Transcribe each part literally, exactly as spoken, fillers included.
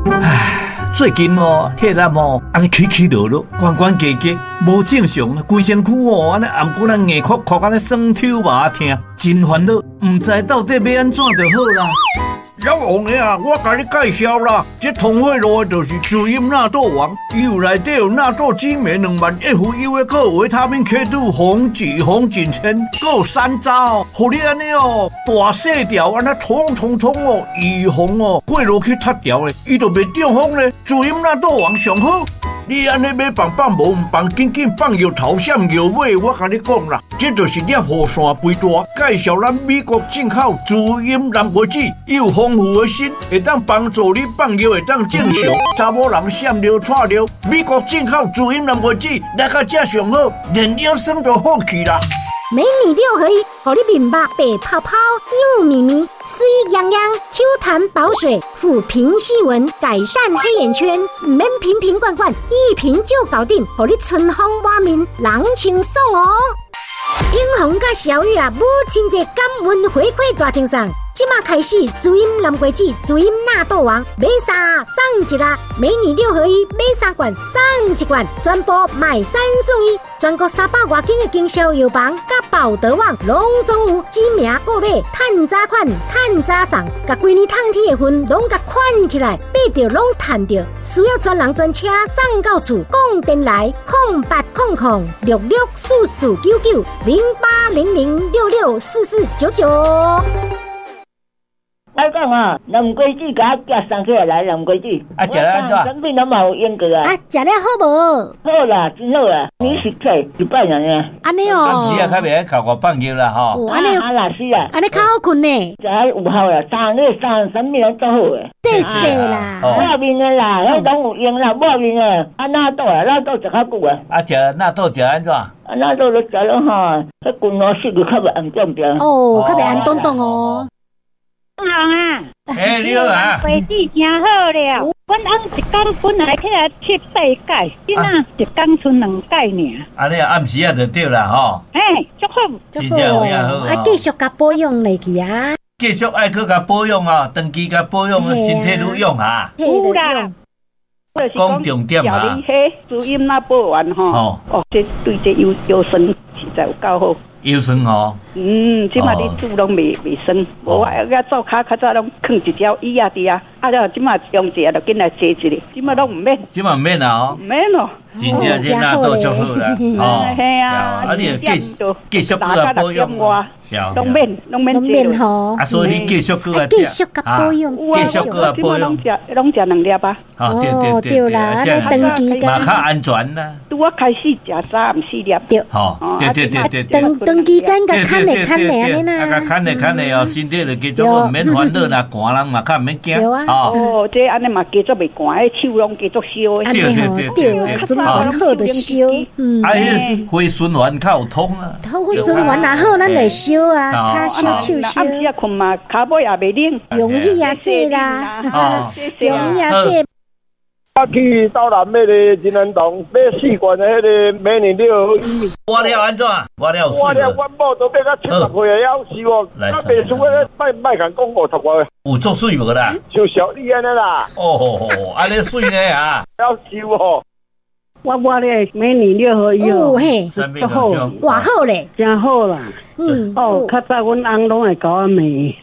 唉，最近哦，血壓哦，按呢起起落落，懸懸低低，無正常，規身軀哦，按呢頷骨仔硬硞硞，按呢酸抽麻疼，真煩惱，毋知到底欲按怎就好啦。老王的啊，我共你介紹啦，這通血路的就是滋陰納豆王，伊有內底有納豆激酶兩萬 F U 的，閣有維他命 K 二紅杞紅景天，閣有山楂哦，予你按呢哦，大細條按呢衝衝衝哦，預防哦，血落去塌掉的，伊就袂中風咧。滋陰納豆王上好。你按呢欲放放無毋放，緊緊放藥頭閃藥尾，我共你講啦，這就是粒雨傘肥大。介紹咱美國進口滋陰南瓜子，伊有豐富的鋅，會當幫助你放尿會當正常。查某人閃尿掣尿，美國進口滋陰南瓜子來到這上好，連腰酸都好去啦。美女六合一，予你面目白泡泡、幼咪咪、媠漾漾、Q 彈保水、撫平細紋、改善黑眼圈，毋免瓶瓶罐罐，一瓶就搞定，予你春風滿面，人清爽哦。永紅佮小雨啊，母親節感恩回饋大贈送。這馬開始，滋陰南瓜子、滋陰納豆王買三送一啦！美女六合一買三罐送一罐，全部買三送一。全國三百外間的經銷藥房佮寶德網攏總有，指名購買，趁早款，趁早送，共規年冬天的份攏共款起來，買著攏趁著。需要專人專車送到厝，講電來空八空空六六四四九九零八零零六六四四九九。我講啊，南瓜子共我寄送起來來，南瓜子。啊，食了按怎？產品攏嘛有用過啊。啊，食了好無？好啦，真好啦。你是去一擺爾爾。按呢哦。暗時啊，較袂愛哭我放尿啦吼。按呢。啊啦是啊。按呢較好睏呢。食有效啦，三個三啥物攏做好的。謝謝啦。抹面的啦，彼攏有用啦，抹面的，啊納豆啊，納豆食較久啊。啊，食納豆食按怎？啊，納豆都食了吼，彼骨腦室就較袂紅腫著。哦，較袂紅咚咚哦。人啊！欸，你好啊！瓜子真好了，阮翁一工本來起來七八擺，這馬一工賰兩擺爾。按呢暗時啊就對啦吼。嘿，足好，真正有影好。啊，繼續共保養落去啊！繼續愛閣共保養啊，長期共保養，身體愈勇啊。有啦。講重點啊！你彼滋陰納豆丸吼，哦，這對這腰腰酸實在有夠好。腰酸吼。嗯，這馬你煮攏袂袂酸，無我我做較較早攏囥一條椅仔佇遐，啊了這馬用一下就緊來坐一下，這馬攏毋免。這馬毋免啊吼。毋免咯。真正這納豆足好啦，吼。嘿啊，啊你繼繼續閣來保養。攏免攏免免吼。啊，所以你繼續閣來繼續共保養，繼續閣來保養。攏食攏食兩粒啊。哦，對對對對啦，長期嘛較安全啦。拄我開始食三毋四粒。對。吼，對對對對。長長期間共牽的牽的按呢啦。啊，共牽的牽的哦，身體就繼續毋免煩惱啦，寒人嘛較毋免驚。對啊。哦，這按呢嘛加足袂寒，彼手攏加足燒的。對對對對。循環好就燒。嗯。啊，彼血循環較有通啊。好血循環若好，咱會燒啊，跤燒手燒。暗時啊睏嘛，跤尾也袂冷。容易啊，這啦。容易啊，這。我去斗南買個仁安堂買四罐的彼个美女六合一。我了按怎？我了我了，阮某都买到七十歲會曉瘦哦，啊，袂輸個莫莫共講五十外。有足媠無啦？像小李按呢啦。哦吼吼，按呢媠呢啊？曉瘦哦。我買咧美女六合一哦嘿，足好，偌好咧，真好啦。嗯，哦，較早阮翁攏會共我罵，伊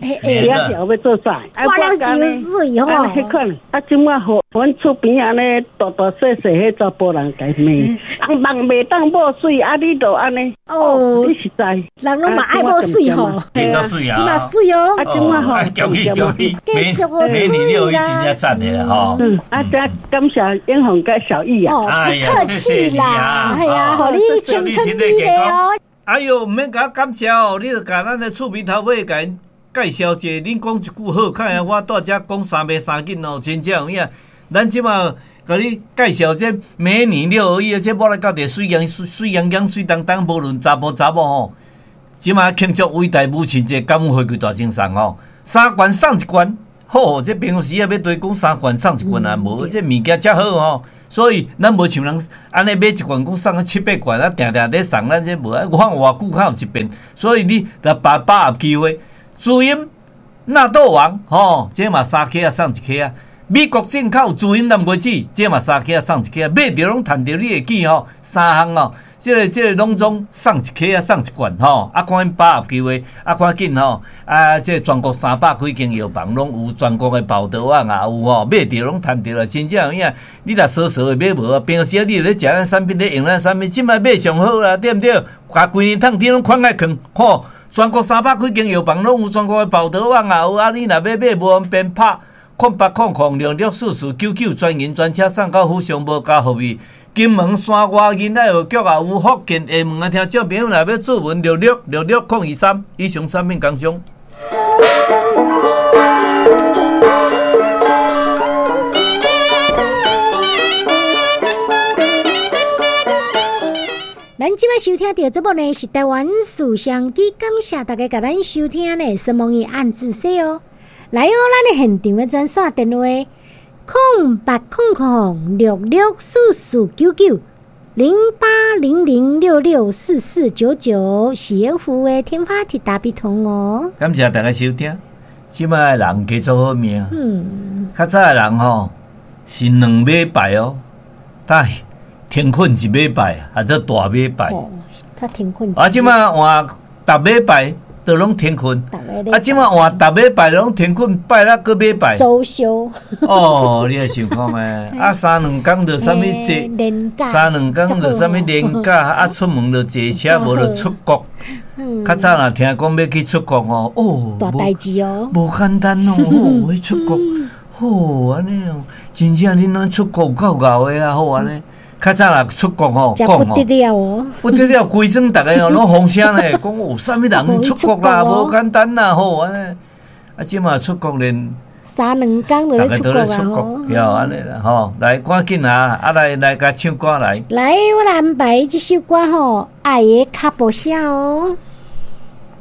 仔條欲做菜，我了傷媠吼。彼款，啊，這馬好，阮厝邊按呢大大細細彼查埔人共罵，翁夢袂當抹媠，啊，你就按呢？哦，你實在，人攏嘛愛抹媠吼，真媠啊，這馬媠哦，啊，這馬吼，恭喜恭喜，繼續哦，美女六合一真正讚的吼。嗯，啊，這感謝英雄佮小玉啊，哦，不客氣啦，係啊，予你青春美麗哦。哎喲，毋免共我感謝哦，你著共咱的厝邊頭尾共𪜶介紹者，恁講一句好，較會我蹛遮講三暝三更哦，真正有影。咱這馬共你介紹這美女六合一，這抹來到底媠樣媠媠樣樣媠當當，無論查埔查某吼。這馬慶祝偉大母親節感恩回饋大贈送吼，三罐送一罐，好，這平常時啊欲對講三罐送一罐啊，無這物件遮好吼。所以咱無像人按呢買一罐講送啊七八罐啊，定定咧送咱這無啊，我看偌久較有一遍。所以你若把把握機會，滋陰納豆王吼，這嘛三克仔送一克仔，美國進口自然藍果子，這嘛三克送一克，買著攏趁著，你會記吼，三項哦，這個這個攏總送一克啊，送一罐吼。啊，趕緊把握機會，啊，趕緊吼，啊，這個全國三百幾間藥房攏有，全國的報道網也有吼，買著攏趁著啦，真正有影。你若傻傻的買無啊，平時啊你咧食咱產品，咧用咱產品，這擺買上好啦，對毋對？共規年桶甜攏款愛囥吼，全國三百幾間藥房攏有，全國的報道網也有。啊，你若欲買無方便拍空八空空六六四四九九，專人專車送到府上，無加服務。金門山外囡仔學局也有，福建廈門的聽眾朋友若欲諮詢六六六六空二三，以上產品工商。咱這擺收聽著節目呢，是台灣事相機，感謝大家共咱收聽呢，什麼按字說哦。來哦，咱的現場的專線電話：空八空空六六四四九九零八零零六六四四九九，是有服務的天發鐵打比通哦。感謝大家收聽。這擺的人加做好命。嗯。較早的人吼是兩禮拜哦，但停睏一禮拜，還做大禮拜。哦，他停睏。啊，這擺換逐禮拜。都攏停睏，啊！這擺換逐禮拜攏停睏，拜六閣禮拜。周休。哦，你也想看覓？啊，三兩工就啥物坐，三兩工就啥物連假，啊，出門就坐車，無就出國。較早若聽講欲去出國哦，哦，大代誌哦，無簡單哦，哦，欲出國，哦，按呢哦，真正恁咱出國有夠𠢕的啊，好按呢。較早若出國吼，講不得了哦，不得了，規庄逐个哦攏風聲咧，講有啥物人出國啦，無簡單啦，吼按呢。啊，這馬出國連三兩工就咧出國啊，吼，對，按呢啦，吼，來趕緊啊，啊來來共唱歌來。來，我來安排這首歌吼，愛的腳步聲哦。